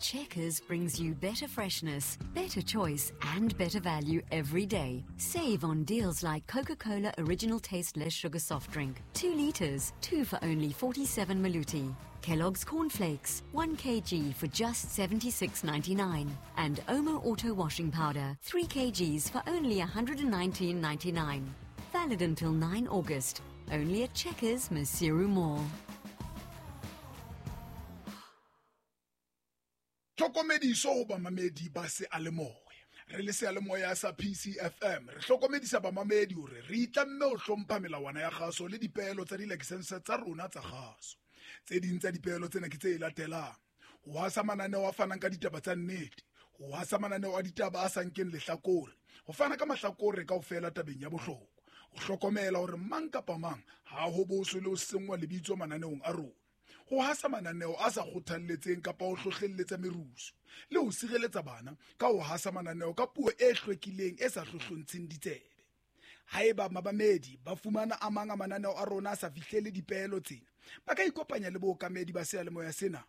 Checkers brings you better freshness, better choice, and better value every day. Save on deals like Coca Cola Original Taste Less Sugar Soft Drink, 2 litres, 2 for only 47 Maluti. Kellogg's Cornflakes, 1 kg for just 76.99. And Omo Auto Washing Powder, 3 kgs for only 119.99. Valid until 9 August. Only at Checkers, Maseru Mall. Tlhokomediso ho bamamedi ba seyalemoya. Re le seyalemoya sa PCFM re hlokomedisa bamamedi hore re itlamme ho hlompha melawana ya kgaso le dipeelo tsa dilakesense tsa rona tsa kgaso. Tse ding tsa dipeelo tsena ke tse latelang: ho hasa mananeo a fanang ka ditaba tsa nnete, ho hasa mananeo a ditaba a sa nkeng lehlakore, ho fana ka mahlakore kaofela tabeng ya bohlokwa, ho hlokomela hore mang kapa mang ha ho boswe le ho senngwa lebitso mananeong a rona, ho hasa mananeo a sa kgothalletseng kapa ho hlohlelletsa merusu, le ho sireletsa bana ka ho hasa mananeo ka puo e hlwekileng e sa hlohlontsheng ditsebe. Haeba mamamedi ba fumana a mang a mananeo a rona a sa fihlele dipeelo tsena, ba ka ikopanya le bookamedi ba seyalemoya sena.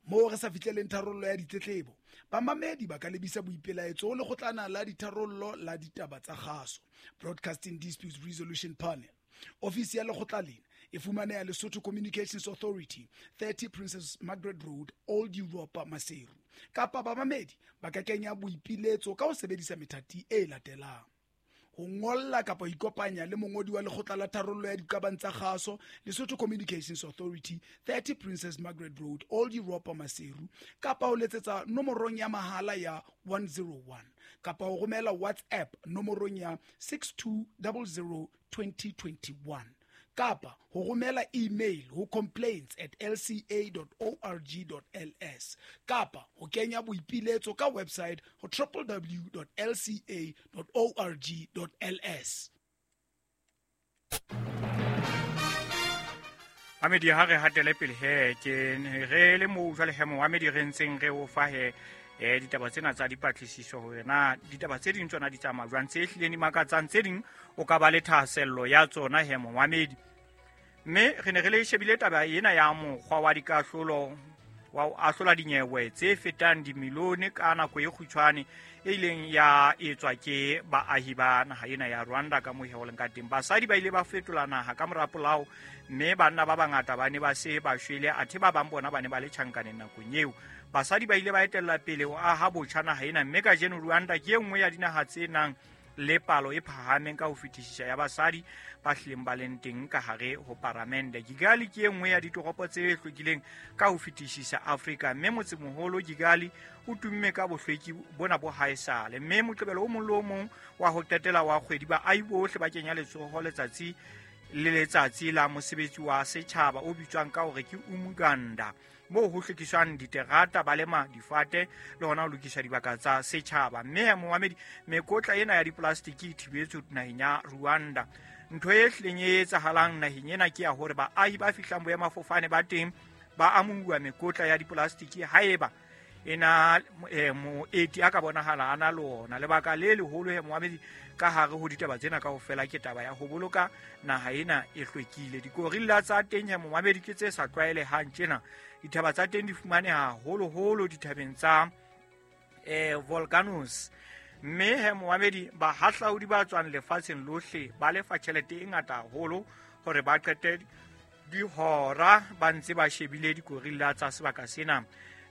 Moo re sa fihleleng tharollo ya ditletlebo, bamamedi ba ka lebisa boipelaetso ho lekgotlana la ditharollo la ditaba tsa kgaso, Broadcasting Disputes Resolution Panel. Ofisi ya lekgotla lena e fumaneha Lesotho Communications Authority, 30 Princess Margaret Road, Old Europa, Maseru. Kapa bamamedi ba ka kenya boipiletso ka ho sebedisa methati e latelang: ho ngolla kapa ho ikopanya le mongodi wa lekgotla la tharollo ya diqabang tsa kgaso, Lesotho Communications Authority, 30 Princess Margaret Road, Old Europa, Maseru, kapa ho letsetsa nomorong ya mahala ya 101, kapa ho romela WhatsApp nomorong ya 6200 2021, kapa ho romela email ho complaints@lca.org.ls, kapa ho kenya boipiletso ka website ho www.lca.org.ls. Mamedi, ha re hatele pele he, ke re le moo jwale he, momamedi, re ntseng re o fa he ditaba tsena tsa dipatlisiso hore na ditaba tse ding tsona di tsamaya jwang, tse hlileng di makatsang, tse ding o ka ba le thahasello ya tsona he, momamedi. Mme re ne re le shebile taba ena ya mokgwa wa dikahlolo wa ho ahlola dinyewe tse fetang dimilione ka nako e kgutshwane e ileng ya etswa ke baahi ba naha ena ya Rwanda. Ka moo ho leng ka teng, basadi ba ile ba fetola naha ka mora polao, mme banna ba bangata ba ne ba se ba shwele, athe ba bang bona ba ne ba le tjhankaneng nakong eo. Basadi ba ile ba etella pele ho aha botjha naha ena, mme kajeno Rwanda ke e nngwe ya dinaha tse nang le palo e phahameng ka ho fetisisa ya basadi ba hlileng ba leng teng ka hare ho paramende. Kigali ke e nngwe ya ditoropo tse hlwekileng ka ho fetisisa Afrika, mme motsemoholo Kigali o tumme ka bohlweki bona bo haesale. Mme Moqebelo o mong le o mong wa ho qetela wa kgwedi, baahi bohle ba kenya letsoho letsatsi le letsatsi la mosebetsi wa setjhaba o bitswang ka hore ke Umuganda, moo ho hlwekiswang diterata, ba lema difate le hona ho lokisa dibaka tsa setjhaba. Mme momamedi, mekotla ena ya diplastiki e thibetswe naheng ya Rwanda. Ntho e hlileng e etsahalang naheng ena ke ya hore baahi ba fihlang boemafofane ba teng ba amohuwa mekotla ya diplastiki haeba ena moeti a ka bonahala a na le ona. Lebaka le leholo he, momamedi, ka hare ho ditaba tsena kaofela ke taba ya ho boloka naha ena e hlwekile. Dikorilla tsa teng he, momamedi, ke tse sa tlwaelehang tjena. Dithaba tsa teng di fumaneha haholoholo dithabeng tsa volcanoes. Mme he, momamedi, bahahlaodi ba tswang lefatsheng lohle ba lefa tjhelete e ngata haholo hore ba qete dihora ba ntse ba shebile dikorilla tsa sebaka sena.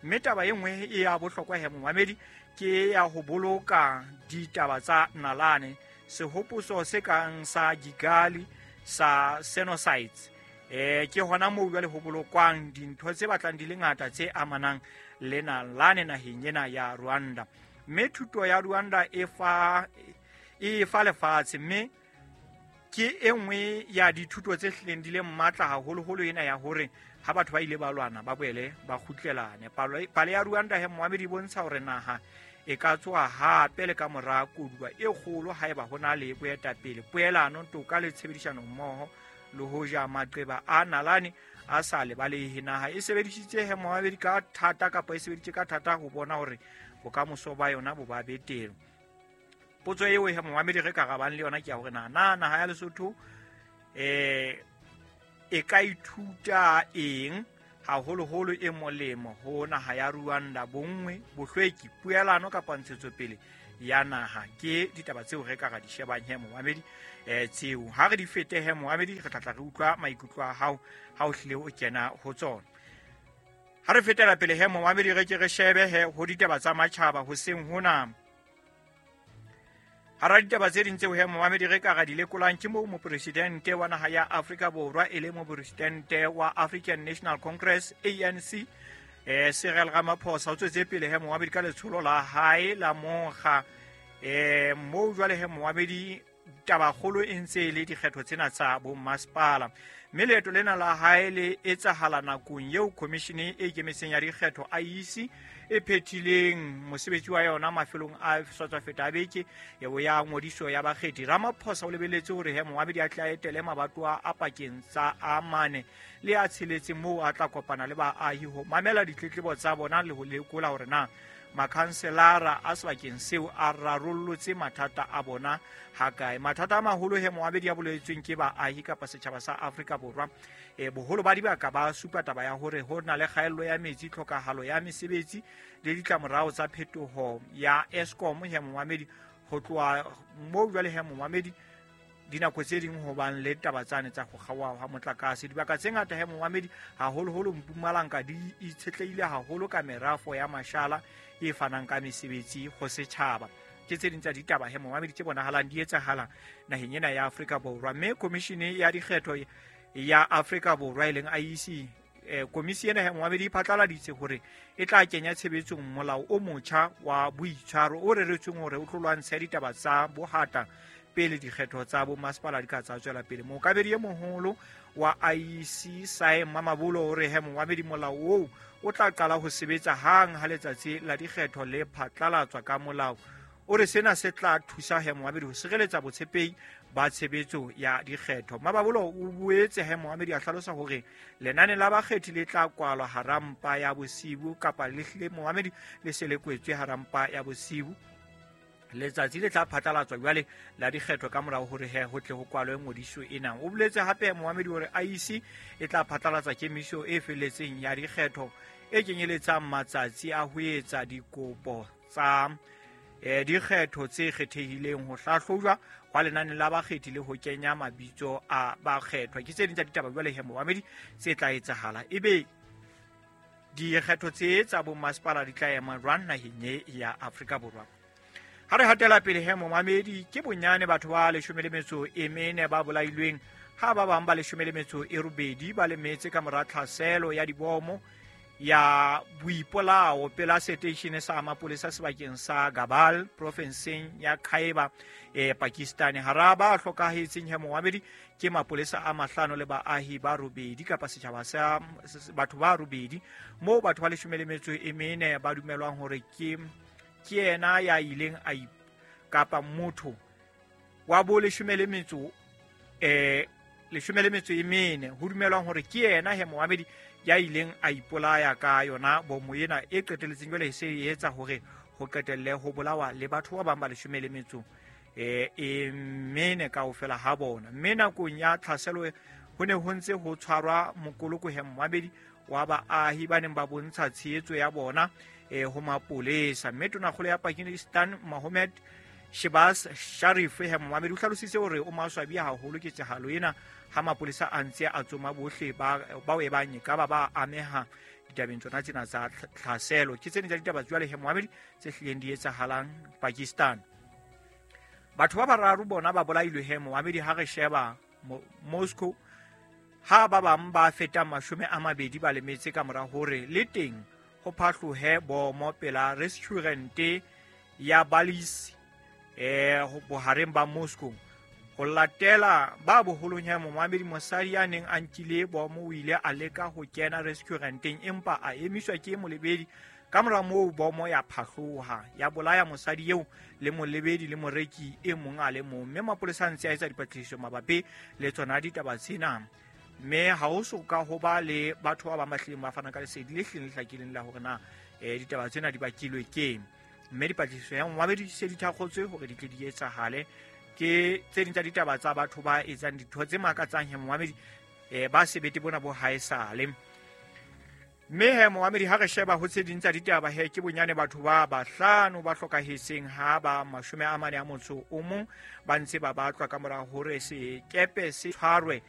Mme taba e nngwe e ya bohlokwa he, momamedi, ke ya ho boloka ditaba tsa nalane, sehopotso se kang sa Kigali sa genocides. Ke hona moo jwale ho bolokwang dintho tse batlang di le ngata tse amanang le nalane naheng ena ya Rwanda. Mme thuto ya Rwanda e fa lefatshe, mme ke e nngwe ya dithuto tse hlileng di le matla haholoholo ena ya hore ha batho ba ile ba lwana ba boele ba kgutlelane. Pale ya Rwanda he, momamedi, e bontsha hore naha e ka tsoha hape le ka mora koduwa e kgolo haeba ho na le boetapele, poelano, toka le tshebedisano mmoho. Le hoja maqeba a nalane a sa lebalehe, naha e sebedisitse he, momamedi, ka thata kapa e sebeditse ka thata ho bona hore bokamoso ba yona bo ba betere. Potso eo he, momamedi, re ka rabang le yona ke ya hore na naha ya Lesotho e ka ithuta eng. haholoholo e molemo ho naha ya Rwanda, bonngwe, bohlweki, puelano kapa ntshetsopele ya naha. Ke ditaba tseo re ka ra di shebang he momamedi, tseo ha re di fete he momamedi, re tla re utlwa maikutlo a hao ha o hlile o kena ho tsona. Ha re fetela pele he momamedi, re ke re shebe he ho ditaba tsa matjhaba hoseng hona. Hara ditaba tse ding tseo he momamedi re ka ra di lekolang ke moo mopresidente wa naha ya Afrika Borwa e le mopresidente wa African National Congress ANC, Cyril Ramaphosa o tswetse pele he momamedi ka letsholo la hae la mokga. Moo jwale he momamedi tabakgolo e ntse e le dikgetho tsena tsa bommasepala, mme leeto lena la hae le etsahala nakong eo khomishene e ikemetseng ya dikgetho IEC e phethileng mosebetsi wa yona mafelong a sa feta a beke eo ya ngodiso ya bakgethi. Ramaphosa o lebeletse hore he momamedi a tla etele mabatowa a pakeng tsa a 4 le a 6 moo a tla kopana le baahi ho mamela ditletlebo tsa bona le ho lekola hore na makhanselara a sebakeng seo a rarollotse mathata a bona hakae. Mathata a maholo he momamedi a boletsweng ke baahi kapa setjhaba sa Afrika Borwa, boholo ba dibaka ba supa taba ya hore ho na le kgaello ya metsi, tlhokahalo ya mesebetsi le ditlamorao tsa phetoho ya Eskom he momamedi. Ho tloha moo jwale he momamedi dinako tse ding ho bang le taba tsane tsa go kgaoha ha motlakase. Dibaka tse ngata he momamedi haholoholo Mpumalanga di itshetlehile haholo ka merafo ya mashala e fanang ka mesebetsi ho setjhaba. Ke tse ding tsa ditaba he momamedi tse bonahalang di etsahala naheng ena ya Afrika Borwa. Mme komishene ya dikgetho ya Afrika Borwa e leng IEC, komisi ena he momamedi e phatlaladitse hore e tla kenya tshebetsong molao o motjha wa boitshwaro o reretsweng hore o tlo lwantshe ditaba tsa bohata pele dikgetho tsa bommasepala di ka tsa tswela pele. Mookabedi e moholo wa IEC Sae Mamabolo o re he momamedi molao oo o tla qala ho sebetsa hang ha letsatsi la dikgetho le phatlalatswa ka molao. O re sena se tla thusa he momamedi ho sireletsa botshepehi ba tshebetso ya dikgetho. Mamabolo o boetse he momamedi a hlalosa hore lenane la bakgethi le tla kwalwa hara mpa ya bosibu kapa le hlile momamedi le se le kwetswe hara mpa ya bosibu. Letsatsi le tla phatlalatswa jwale la dikgetho ka morao hore he ho tle ho kwalwe ngodiso ena. O boletse hape momamedi hore IEC e tla phatlalatsa kemiso e felletseng ya dikgetho e kenyeletsang matsatsi a ho etsa dikopo tsa dikgetho tse kgethehileng, ho hlahlojwa hwa lenane la bakgethi le ho kenya mabitso a bakgethwa. Ke tse ding tsa ditaba jwale he momamedi tse tla etsahala. Ebe dikgetho tse tsa bommasepala di tla ema jwang naheng ya Afrika Borwa? Ha re hatela pele he momamedi, ke bonyane batho ba 14 ba bolailweng ha ba bang ba 18 ba lemetse ka mora tlhaselo ya dibomo ya boipolao pela seteishene sa mapolesa sebakeng sa Gabal profenseng ya Khyber, Pakistan. Hara ba hlokahetseng he momamedi ke mapolesa a 5 le baahi ba 8 kapa setjhaba sa batho ba 8, moo batho ba 14 ba dumelwang hore ke yena ya ileng a kapa motho wa bo 14 ho dumelwang hore ke yena he momamedi ya ileng a ipolaya ka yona bomo ena e qeteletseng jwale e se e etsa hore ho qetelle ho bolawa le batho ba bang ba 14 kaofela ha bona. Mme nakong ya tlhaselo ho ne ho ntse ho tshwarwa mokoloko he momamedi wa baahi ba neng ba bontsha tshehetso ya bona ho mapolesa. Mme tonakgolo ya Pakistan Mohammed Shehbaz Sharif he momamedi o hlalositse hore o maswabi haholo ketsahalo ena ha mapolesa a ntse a tsoma bohle bao e bang ka ba ameha ditabeng tsona tsena tsa tlhaselo. Ke tsena tsa ditaba jwale he momamedi tse hlileng di etsahalang Pakistan. Batho ba bararo bona ba bolailwe he momamedi ha re sheba Moscow, ha ba bang ba fetang 20 ba lemetse ka mora hore le teng ho phahlohe bomo pela restaurant ya Balis bohareng ba Moscow. Ho latela ba boholong ya momamedi, mosadi ya neng a nkile bomo o ile a leka ho kena restauranteng empa a emiswa ke molebedi. Ka mora moo bomo ya phahloha ya bolaya mosadi eo le molebedi le moreki e mong a le mong. Mme mapolesa a ntse a etsa dipatlisiso mabapi le tsona ditaba tsena. Mme ha ho so ka ho ba le batho ba bang ba hlileng ba fana ka lesedi le hlileng le hlakileng la hore na ditaba tsena di bakilwe keng. Mme dipatlisiso ya momamedi se di thakgotswe hore di tle di etsahale. Ke tse ding tsa ditaba tsa batho ba etsang ditho tse makatsang he momamedi, ba sebete bona bo haesale. Mme he, moamedi, ha re sheba ho tse ding tsa ditaba he, ke bonyane batho ba bahlano ba hlokahetseng ha ba 41 ba ntse ba batlwa ka mora hore sekepe se tshwarwe.